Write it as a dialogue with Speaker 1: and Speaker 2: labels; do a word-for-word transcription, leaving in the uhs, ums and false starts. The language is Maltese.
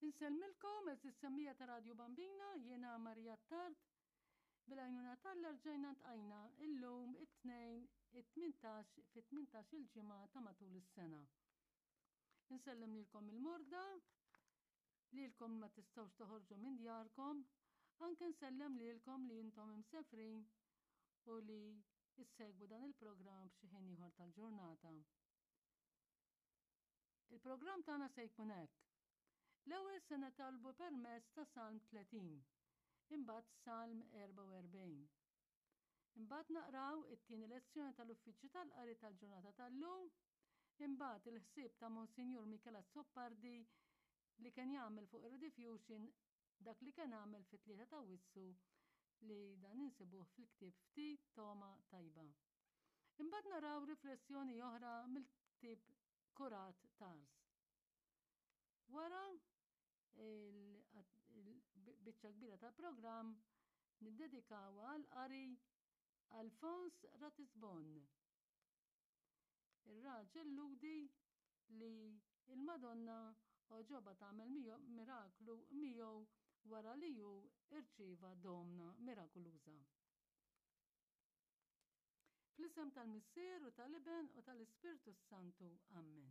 Speaker 1: Insellmilkom għeżież semmiegħa ta' Radju Bambina, jiena Maria Attard. Bil-għajnuna t'Alla rġajna ntqajna illum it-Tnejn it-tmintax fit tmintax il-ġimgħa ta' matul is-sena. Insellem lilkom il-morda, lilkom ma tistgħux toħorġu minn djarkom, anke nsellem lilkom li intom imsefrin u li issegwu dan il-programm f'xi ħin ieħor tal-ġurnata. Il-programm tagħna se jkun hekk. L-ewwel se nitolbu permezz ta' Salm tletin, imbagħad Salm erbgħa u erbgħin. Imbagħad naqraw it-tieni lezzjoni tal-Uffiċċju tal-Qari tal-ġurnata tal-lum, imbagħad il-ħsieb ta' Monsinjur Michel Azzopardi li kien jagħmel fuq ir-Rediffusion dak li kien għamel fit-tlieta ta' Wissu li dan insibuh fil-ktieb Ftit Togħma Tajba. Imbagħad naraw riflessjoni oħra mill-ktieb Kurat Tars. Wara il-biċċa kbira tal-programm niddedikawha għal qari Alfons Ratisbon. Ir-raġel Lhudi li il-Madonna oġoba tagħmel miraklu miegħu wara li hu irċieva domna mirakuluża. Fl-isem tal-Missier u tal-Iben u tal-Ispirtu Santu. Amen.